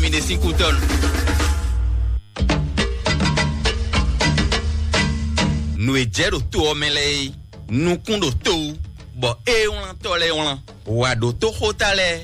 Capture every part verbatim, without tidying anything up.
Mi ɖe sín kú tɔn. Nǔ e jɛ ɖo to ɔ́ mɛ lɛ́ɛ é, nukún ɖo to wú, bɔ ée wlán tɔ́ lɛ́ɛ wlán. Wǎ ɖo tóxóta lɛ́ɛ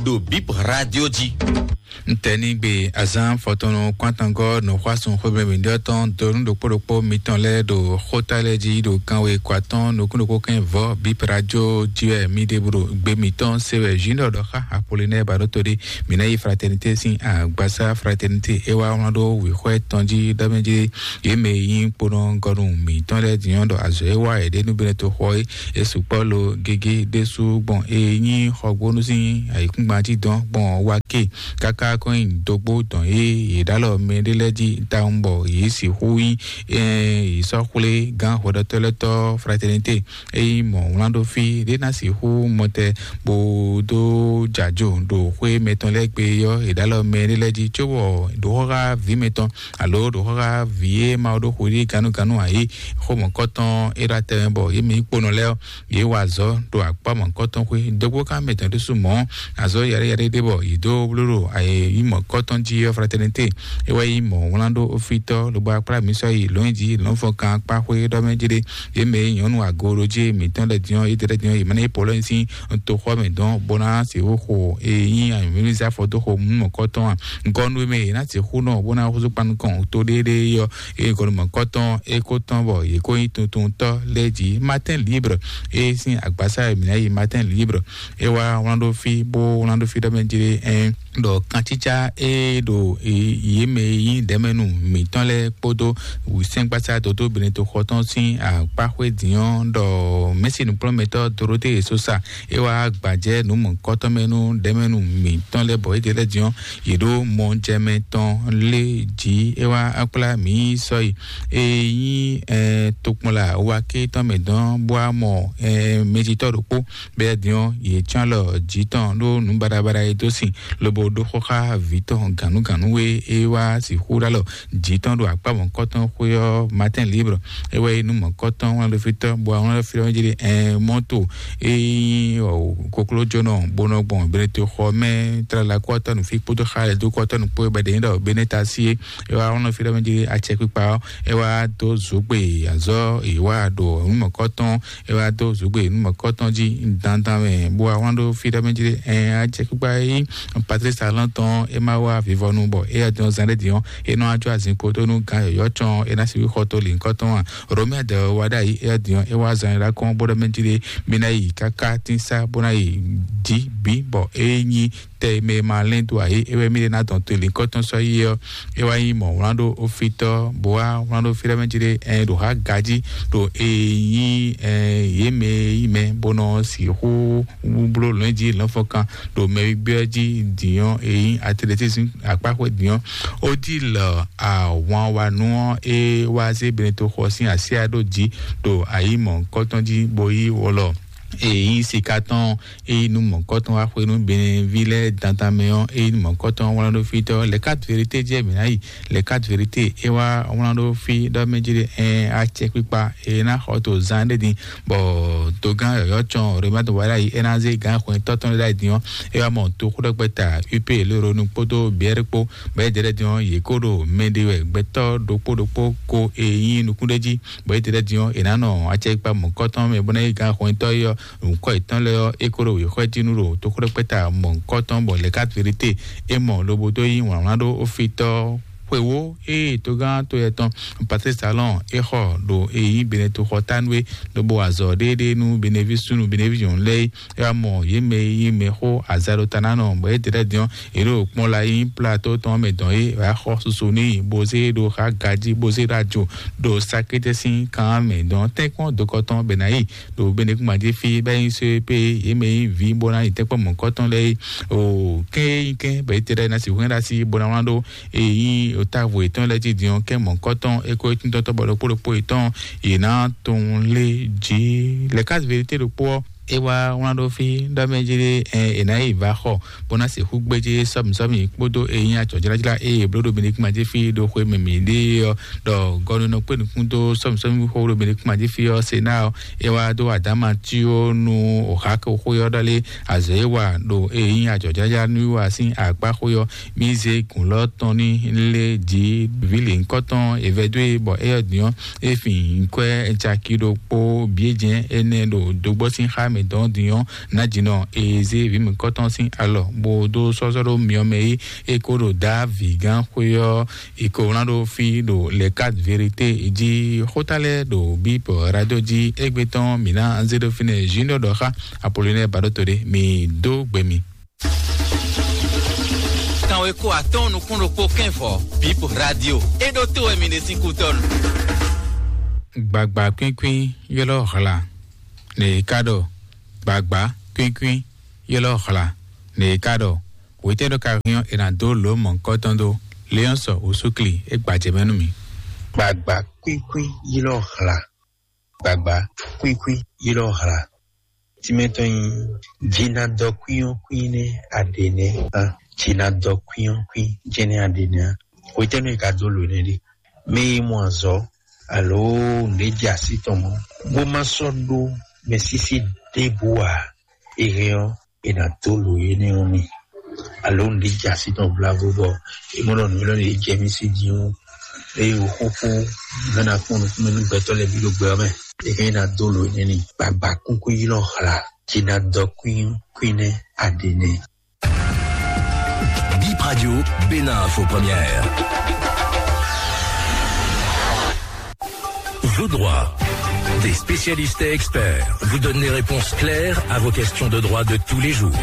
ɖo Bip Radio jí. Ntɛnigbe azán fɔtɔnnu kpántangɔ nɔxwásùn xwébɛ́mɛ ɖiɖɔ tɔn donu ɖokpó ɖokpó mitɔn lɛ́ɛ ɖo xóta lɛ́ɛ jí ɖo kanwe kɔ atɔn nukún ɖokpó kɛn vɔ Bip Radio jí wɛ mi ɖe bro gbe mitɔn se wɛ Junior ɖɔ xá Apollinaire Baɖoto ɖe. Mi ná yi Fraternité sín agbasa Fraternité é wá wlán ɖó wěxwɛ́ tɔn jí ɖɔ mɛ jí yě mɛ e nyí kponɔgɔnu mǐtɔn lɛ́ɛ din ɔ́ ɖɔ azɔ̌ e wa yě ɖe nú Benɛto xɔ é, é sukpɔ́ lo gégé ɖésú gbɔn e nyí xɔgbónú sín ayǐkúngban jí dɔn gbɔn wá ké káká kɔn nyi dógbó dɔn e yě ɖó alɔ mɛ ɖé lɛ́ɛ jí tawun bɔ yě sixú nyí yě sɔ́ xwlé gán hwɛɖɔtɔ́ lɛ́ɛ tɔ́ Fraternité. Ényí mɔ̌ wlán ɖó fí ɖé ná sixú mɔtɛ bó dó jǎjo ɖo xwé mɛtɔn lɛ́ɛ gbe ɔ́, è ɖǒ alɔ mɛ ɖé lɛ́ɛ jí cóbɔ ɖǒxɔ́xá vǐ mɛtɔn alo ɖǒxɔ́xá vǐ e ma ɖó xwedí gannúgannú ǎ é xó mɔ̌kɔtɔn é ɖo atɛ mɛ bɔ yě mɛ nyí kponɔ lɛ́ɛ ɔ́, yě wa azɔ̌ ɖo akpá mɔ̌kɔtɔn xwé. Dɔgbókan mɛtɔn ɖésú mɔ̌ azɔ̌ yaɖéyaɖé ɖé bɔ yě dó bló ɖo ayǐ mɔ̌kɔtɔn jí ɔ́, Fraternité é wɛ nyí mɔ̌ wlán ɖó fítɔ́ lobo akplá mǐ sɔ́ yi lɔ̌nyijǐ lɔ̌nfɔkan akpá xwé ɖɔ mɛ jí ɖé. Yě mɛ e nyɔ̌nu agooɖojé mǐtɔn lɛ́ɛ din ɔ́, yědɛɛ lɛ́ɛ din ɔ́, yě ma ná yi polɔ́nyí sín toxɔ mɛ dɔn bó ná sixú xo e nyí anyǔmímízá fɔ dó xo mú mɔ̌kɔtɔn a? Gɔnu e mɛ yě ná sixú nɔ bó ná húzú kpan nukɔn to ɖéeɖée ɔ́, eye gɔnu mɔ̌kɔtɔn é kó tɔn bɔ yě kó nyí tuntuntɔ́ lɛ́ɛ jí. Matin Libre e sín agbasa e mǐ ná yi Matin Libre é wá wlán ɖó fí bó wlán ɖó fí ɖɔ mɛ jí ɖé ɛn ɖɔ kancícá e ɖo yě mɛ e nyí ɖɛ̌mɛnu mǐtɔn lɛ́ɛ kpódó wǔsɛ́ngbasá dodó Benɛto xɔ tɔn sín akpáxwé din ɔ́ ɖɔ mɛ̌si nǔkplɔ́nmɛtɔ́ Dorote Sosa é wá gbajɛ nǔ mɔ̌kɔtɔn mɛ nú ɖɛ̌mɛnu mǐtɔn lɛ́ɛ bɔ é ɖe lɛ́ɛ din ɔ́, yě ɖó mɔjɛmɛ tɔn lé jǐ é wá kplá mǐ sɔ́yi e nyí tokpɔnla waké tɔn mɛ dɔn bó wá mɔ mɛjitɔ́ ɖokpó bɛ́ din ɔ́, yě cyɔ́n alɔ jǐ tɔn ɖó nǔ baɖabaɖa e dó sin lobo ɖó xó xá vǐ tɔn gǎnúgǎnú e é wá sixú ɖó alɔ jǐ tɔn ɖo akpá mɔ̌kɔtɔn xwé ɔ́ Matin Libre. É wɛ nyí nú mɔ̌kɔtɔn wlán ɖo fí tɔn bɔ wlán ɖo fí tɔn jí ɖe ɛn mɔto e nyí koklójónɔ bó nɔ gbɔn Benɛto xɔ mɛ tlala kɔtɔnu fí kpódó xa lɛ dó kɔtɔnu kpó bɛ ɖe nyí ɖɔ Benɛta sí é. É wá wlán ɖo fí tɔn jí ɖe acɛkpikpa ɔ́ é wá dó zǒgbe azɔ́ è wá ɖo nú mɔ̌kɔtɔn é wá dó zǔgbè nú mɔ̌kɔtɔn jí dandan mɛ bó wá wlán ɖó fí ɖɔ mɛ jí ɛn acɛkpikpa e nyí Patrice Talon tɔn é ma wá vivɔnu bɔ é yá dɔn zan ɖé din ɔ́, é nɔ ajɔ azinkpo tó nú gán yɔ̌yɔ́ cɔn é ná sixú xɔ tó lǐnkɔtɔn a? Romia dɛ wá ɖ'ayǐ é yá din ɔ́, é wá zan é ɖá kɔn bó ɖɔ mɛ jí ɖé mí ná yi káká tín sá bó ná yi jí bǐ bɔ é nyí tɛ e mɛ e ma lɛ́n dó ǎ é, é wɛ mí ɖe ná dɔn to lǐnkɔtɔn sɔ́ yi ɔ́, é wá nyí mɔ̌ wlán ɖó ofítɔ́ bó wá wlán ɖó fí ɖɔ mɛ jí ɖé ɛn ɖo há gají ɖo e nyí ɛn yě mɛ e nyí mɛ bó nɔ sixú bló lɔ̌n jí lɔ̌nfɔkan ɖo mɛ gbígbé ɔ́ jí dǐnyɔ́ e nyí atletisme akpáxwé dǐnyɔ́. Ó dí lɔ ahwan wa nú ɔ́ é wá zé Benɛto xɔ sín asyá ɖó jí ɖo ayǐ mɔ̌hunkɔtɔn jí bó yí wlɔ e nyí sika tɔn ɔ́, eye nú mɔ̌kɔtɔn wá xwé nú Benɛví lɛ́ɛ dandan mɛ ɔ́, eye nú mɔ̌kɔtɔn wlán ɖó fí tɔ́ lɛ̌ kat verité jɛ mǐ ná yi lɛ̌ kat verité é wá wlán ɖó fí ɖɔ mɛ jí ɖe ɛn acɛkpikpa e ná xɔ to zán ɖé din bɔ dogán yɔ̌yɔ́ cɔn Romatu wá ɖ'ayǐ é ná zé gǎn xwɛntɔ́ tɔn lɛ́ɛ ɖ'ayǐ din ɔ́, é wá mɔ toxóɖɔgbɛ́ta U P Léronu kpódó Biɛ́r kpó bɔ é jɛ lɛ́ɛ din ɔ́, yě kó ɖo mɛ ɖe wɛ gbɛtɔ́ ɖokpó ɖokpó ko e nyí nukún ɖé jí bɔ é jɛ lɛ́ɛ din ɔ́, è nǎ nɔ acɛkpikpa mɔ̌kɔtɔn mɛ bó ná yí gǎn xwɛntɔ́ é ɔ́, nǔkɔ yětɔn lɛ́ɛ ɔ́, é kó ɖo wěxɔ́ jí nú ɖo toxóɖɔkpɛ́ta mɔ̌hunkɔtɔn bɔ lɛ̌ kat verité é mɔ lobo dó yí wlǎnwlán ɖó ofítɔ́ xwewó ée togán to yɛ tɔn Patrice Talon é xɔ ɖo e nyí Benɛto xɔ tánú é, lobo wa azɔ̌ ɖéeɖée nú Benɛví súnnu Benɛví nyɔ̌nu lɛ́ɛ é, é wá mɔ yě mɛ e nyí mɛxó azaɖotanánɔ bɔ é ɖe lɛ́ɛ din ɔ́, yě ɖo kpɔ́n la nyí plato tɔn mɛ dɔn é, é wá xɔ susu n'i bó zé ɖo xá gají bó zé ɖo ajo ɖo sakétɛ́ sín kan mɛ dɔn tɛ́nkpɔ́n dokɔ tɔn bɛ ná yi ɖo Benɛkúngbán jí fí bɔ é nyí só é pé yě mɛ e nyí vǐ bó ná yi tɛ́nkpɔ́n mɔ̌kɔtɔn lɛ́ɛ é. O kɛ́n e nyí kɛ́n bɔ é te lɛ́ɛ ná sixú hɛn ɖó así bó ná wlán ɖó e nyí távo yětɔn lɛ́ɛ jí din ɔ́, kɛ́n mɔ̌kɔtɔn é kó é tíntɔ́ntɔ́ bɔ ɖokpó ɖokpó yětɔn yě ná tunwun lé jí. Lɛ̌ ká verité ɖokpó ɔ́, é wá wlán ɖó fí ɖɔ mɛ jí ɖé, ɛ, è nǎ yi vǎ xɔ bó ná sixú gbéjé sɔ́mǐsɔ́mǐ kpódó eyín acɔ̌jlájlá e è bló ɖo Benedikt jí fí ɖo xwe mǐmí ɖe ɔ́, ɖɔ gɔ́núnɔ kpé nukún dó sɔ́mǐsɔ́mǐ xó ɖo Benedikt jí fí ɔ́, Sená ɔ́, é wá dó adáma cí ó nú òxákó xó ɔ́ ɖɔ lé azɔ̌ e wa ɖo eyín acɔ̌jlájlá nú wa sín akpá xó ɔ́, mí zé gǔnlɔ́ tɔn ní lé jǐ vǐ lěhunkɔtɔn è vɛdó e bɔ éyɛ́ din ɔ́, é fin nkwɛ́ caki ɖokpó bǐ jɛ́n énɛ́ ɖo dogbɔ́ sín xá mɛ dɔn din ɔ́, nǎjínɔ e zé vǐ mǐkɔtɔn sín alɔ bó dó sɔ́sɔ́ ɖó myɔ mɛ é, é kó ɖo dǎ vǐgán xwé ɔ́, è ko wlán ɖó fí ɖo Les Quatre Vérités jí. Xóta lɛ́ɛ ɖo Bíbɔ Radio jí égbé tɔn mǐ ná zé ɖó fínɛ́ Junior ɖɔ xá Apollinaire Baɖóto ɖé, mǐ dó gbe mi. Kanweko atɔ́ɔ́n nukún ɖokpó kɛ́nvɔ, Bíbɔ Radio, é ɖó tó wɛ mi ɖe sín kútɔ́nu. Gbagba kwínkwín ylɔ́ hla, nɛ è ká ɖɔ gbagba kwínkwín ylɔ́ hla, nɛ è ká ɖɔ hwetɛ́ ɖɔ ka hɛn ɔ́, è nǎ dó lǒ mɔ̌hunkɔtɔn dó. Léɔ́nsɔ Osúkli é gbajɛ mɛ nú mì. Gbagba kwíkwín ylɔ́ hla. Gbagba kwíkwín ylɔ́ hla. Tínmɛ tɔn nyí jinadɔkwín ɔ́ kwín nɛ́ aɖě nɛ́. Hán jinadɔkwín ɔ́ kwín jɛ́n nɛ́ aɖě nɛ́. Hwetɛ́nu è ka dó lǒ énɛ́ ɖe? Mɛ e mɔ azɔ̌ alo nǔɖé jɛ así tɔn mɔ̌, bó má sɔ́ ɖó mɛsísí ɖěbǔ ǎ, è hɛn ɔ́, è nǎ dó lǒ énɛ́ ɔ́ n'i. Alo nǔɖé jɛ así tɔn vlavo bɔ è mɔ ɖɔ nǔ élɔ́ ɖě jɛ mì sí din ɔ́, eye wǒ xóxó mɛ ná kpɔ́n nukúnmɛ nú gbɛtɔ́ lɛ́ɛ bǐ ɖo gbɛ ɔ́ mɛ. È hɛn ná dó lǒ énɛ́ n'i. Gbagba kúnkún ylɔ́ hla, jǐ ná dɔ kwín kwín nɛ́ aɖě nɛ́. Bip Radio, Bénin Info Première. Vos droits. Des spécialistes et experts vous donnent des réponses claires à vos questions de droit de tous les jours.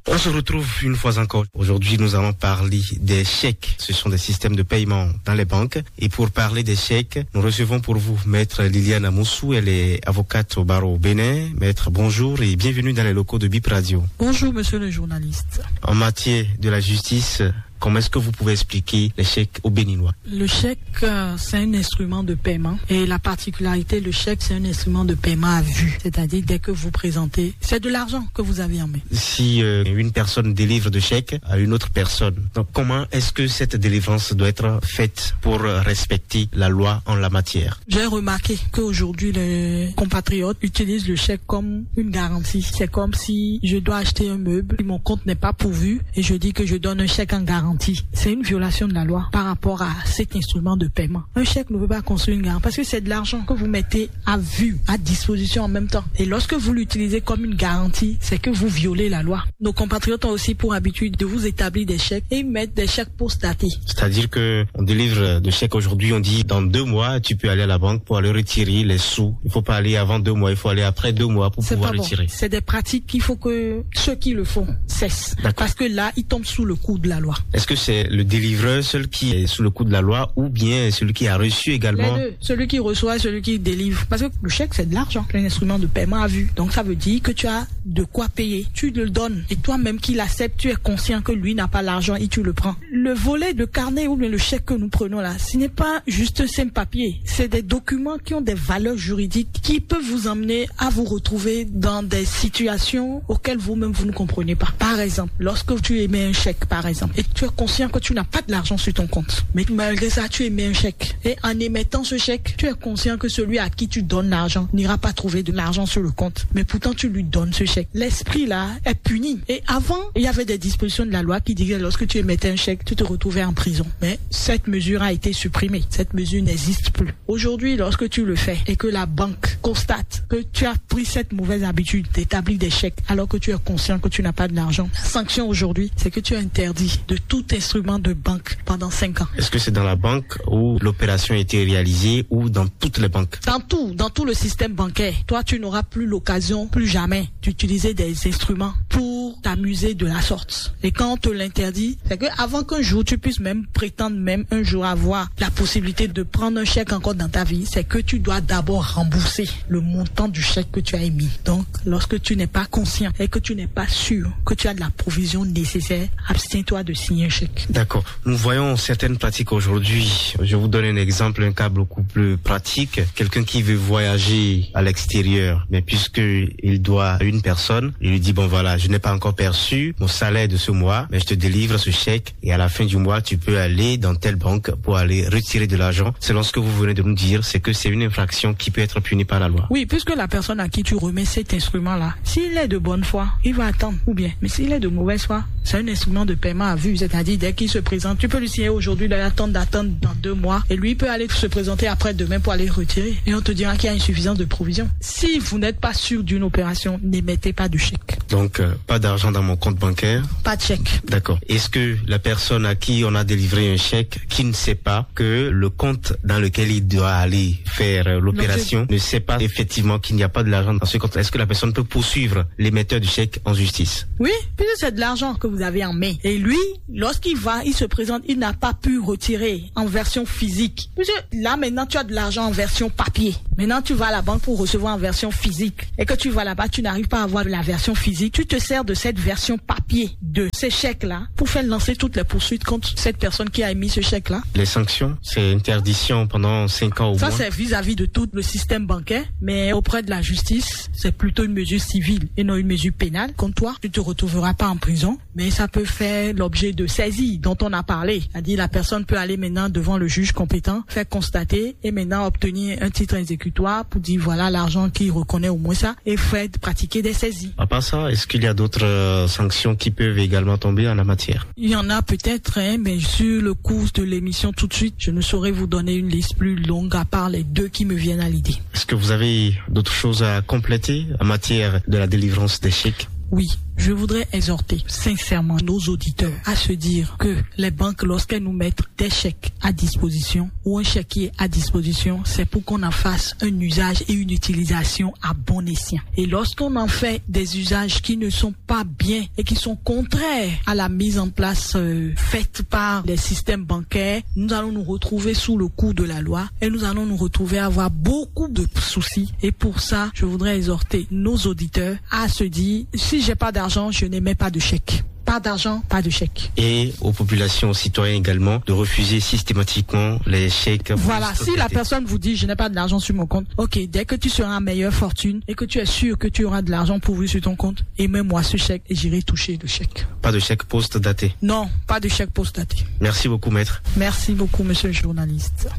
On se retrouve une fois encore. Aujourd'hui, nous allons parler des chèques. Ce sont des systèmes de paiement dans les banques. Et pour parler des chèques, nous recevons pour vous Maître Liliane Amoussou. Elle est avocate au barreau au Bénin. Maître, bonjour et bienvenue dans les locaux de Bip Radio. Bonjour, monsieur le journaliste. En matière de la justice, comment est-ce que vous pouvez expliquer les chèques aux Béninois ? Le chèque, euh, c'est un instrument de paiement. Et la particularité, le chèque, c'est un instrument de paiement à vue. C'est-à-dire, dès que vous présentez, c'est de l'argent que vous avez en main. Si, euh, une personne délivre de chèques à une autre personne, donc comment est-ce que cette délivrance doit être faite pour, euh, respecter la loi en la matière ? J'ai remarqué qu'aujourd'hui, les compatriotes utilisent le chèque comme une garantie. C'est comme si je dois acheter un meuble, mon compte n'est pas pourvu et je dis que je donne un chèque en garantie. C'est une violation de la loi par rapport à cet instrument de paiement. Un chèque ne peut pas construire une garantie parce que c'est de l'argent que vous mettez à vue, à disposition en même temps. Et lorsque vous l'utilisez comme une garantie, c'est que vous violez la loi. Nos compatriotes ont aussi pour habitude de vous établir des chèques et ils mettent des chèques pour stater. C'est-à-dire que on délivre des chèques aujourd'hui, on dit dans deux mois, tu peux aller à la banque pour aller retirer les sous. Il faut pas aller avant deux mois, il faut aller après deux mois pour pouvoir retirer. C'est pas bon. C'est des pratiques qu'il faut que ceux qui le font cessent. D'accord. Parce que là, ils tombent sous le coup de la loi. Est-ce que c'est le délivreur seul qui est sous le coup de la loi ou bien celui qui a reçu également ? Les deux, celui qui reçoit et celui qui délivre. Parce que le chèque, c'est de l'argent, c'est un instrument de paiement à vue. Donc ça veut dire que tu as de quoi payer. Tu le donnes. Et toi-même qui l'acceptes, tu es conscient que lui n'a pas l'argent et tu le prends. Le volet de carnet ou bien le chèque que nous prenons là, ce n'est pas juste un simple papier. C'est des documents qui ont des valeurs juridiques qui peuvent vous amener à vous retrouver dans des situations auxquelles vous-même vous ne comprenez pas. Par exemple, lorsque tu émets un chèque, par exemple, et tu es conscient que tu n'as pas de l'argent sur ton compte, mais malgré ça, tu émets un chèque. Et en émettant ce chèque, tu es conscient que celui à qui tu donnes l'argent n'ira pas trouver de l'argent sur le compte. Mais pourtant, tu lui donnes ce chèque. L'esprit là est puni. Et avant, il y avait des dispositions de la loi qui disaient lorsque tu émettais un chèque, tu te retrouvais en prison. Mais cette mesure a été supprimée. Cette mesure n'existe plus. Aujourd'hui, lorsque tu le fais et que la banque constate que tu as pris cette mauvaise habitude d'établir des chèques alors que tu es conscient que tu n'as pas de l'argent, la sanction aujourd'hui, c'est que tu es interdit de tout instrument de banque pendant cinq ans. Est-ce que c'est dans la banque où l'opération a été réalisée ou dans toutes les banques ? Dans tout, dans tout le système bancaire, toi, tu n'auras plus l'occasion, plus jamais, d'utiliser des instruments pour t'amuser de la sorte. Et quand on te l'interdit, c'est que avant qu'un jour tu puisses même prétendre même un jour avoir la possibilité de prendre un chèque encore dans ta vie, c'est que tu dois d'abord rembourser le montant du chèque que tu as émis. Donc, lorsque tu n'es pas conscient et que tu n'es pas sûr que tu as de la provision nécessaire, abstiens-toi de signer un chèque. D'accord. Nous voyons certaines pratiques aujourd'hui. Je vous donne un exemple, un cas beaucoup plus pratique. Quelqu'un qui veut voyager à l'extérieur, mais puisque il doit à une personne, il lui dit, bon voilà, je n'ai pas encore perçu mon salaire de ce mois, mais je te délivre ce chèque et à la fin du mois, tu peux aller dans telle banque pour aller retirer de l'argent. Selon ce que vous venez de nous dire, c'est que c'est une infraction qui peut être punie par la loi. Oui, puisque la personne à qui tu remets cet instrument-là, s'il est de bonne foi, il va attendre. Ou bien, mais s'il est de mauvaise foi, c'est un instrument de paiement à vue. C'est-à-dire, dès qu'il se présente, tu peux lui signer aujourd'hui, il attend d'attendre dans deux mois. Et lui, il peut aller se présenter après-demain pour aller retirer. Et on te dira qu'il y a insuffisance de provision. Si vous n'êtes pas sûr d'une opération, n'émettez pas de chèque. Donc, euh, pas d'argent dans mon compte bancaire. Pas de chèque. D'accord. Est-ce que la personne à qui on a délivré un chèque, qui ne sait pas que le compte dans lequel il doit aller faire euh, l'opération, ne sait pas effectivement qu'il n'y a pas de l'argent dans ce compte, est-ce que la personne peut poursuivre l'émetteur du chèque en justice ? Oui, puisque c'est de l'argent que vous avez en main. Et lui, lorsqu'il va, il se présente, il n'a pas pu retirer en version physique. Puisque là, maintenant, tu as de l'argent en version papier. Maintenant, tu vas à la banque pour recevoir en version physique. Et que tu vas là-bas, tu n'arrives pas à avoir la version physique. Tu te sers de cette version papier de ces chèques-là pour faire lancer toutes les poursuites contre cette personne qui a émis ce chèque-là. Les sanctions, c'est interdiction pendant cinq ans au moins. Ça, c'est vis-à-vis de tout le système bancaire. Mais auprès de la justice, c'est plutôt une mesure civile et non une mesure pénale. Comme toi, tu ne te retrouveras pas en prison. Mais ça peut faire l'objet de saisies dont on a parlé. C'est-à-dire, la personne peut aller maintenant devant le juge compétent, faire constater et maintenant obtenir un titre exécutoire pour dire voilà l'argent qui reconnaît au moins ça et faire pratiquer des saisies. À part ça, est-ce qu'il y a d'autres euh, sanctions qui peuvent également tomber en la matière ? Il y en a peut-être, hein, mais sur le cours de l'émission tout de suite, je ne saurais vous donner une liste plus longue à part les deux qui me viennent à l'idée. Est-ce que vous avez d'autres choses à compléter en matière de la délivrance des chèques ? Oui, je voudrais exhorter sincèrement nos auditeurs à se dire que les banques, lorsqu'elles nous mettent des chèques à disposition ou un chèque qui est à disposition, c'est pour qu'on en fasse un usage et une utilisation à bon escient. Et lorsqu'on en fait des usages qui ne sont pas bien et qui sont contraires à la mise en place euh, faite par les systèmes bancaires, nous allons nous retrouver sous le coup de la loi et nous allons nous retrouver à avoir beaucoup de soucis. Et pour ça, je voudrais exhorter nos auditeurs à se dire, si j'ai pas d'argent, je n'émets pas de chèque. Pas d'argent, pas de chèque. Et aux populations, aux citoyens également, de refuser systématiquement les chèques. Voilà, si la personne vous dit, je n'ai pas de l'argent sur mon compte, ok, dès que tu seras en meilleure fortune et que tu es sûr que tu auras de l'argent pourvu sur ton compte, émets-moi ce chèque et j'irai toucher le chèque. Pas de chèque post daté. Non, pas de chèque post daté. Merci beaucoup, maître. Merci beaucoup, monsieur le journaliste.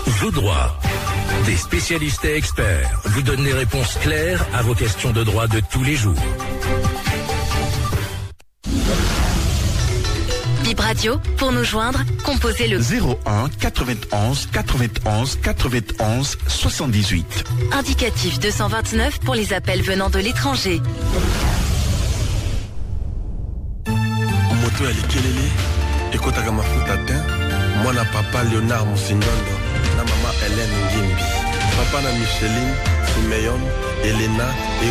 Vos droits. Des spécialistes et experts vous donnent des réponses claires à vos questions de droit de tous les jours. Bip Radio, pour nous joindre, composez le zéro un quatre-vingt-onze quatre-vingt-onze quatre-vingt-onze soixante-dix-huit. Indicatif deux cent vingt-neuf pour les appels venant de l'étranger. Moto ya likelele, ekotaka mafuta te. Mwana papa Léonard Musindondo na mama Hélène Ngimbi. Papa na Micheline, Simeon, Elena et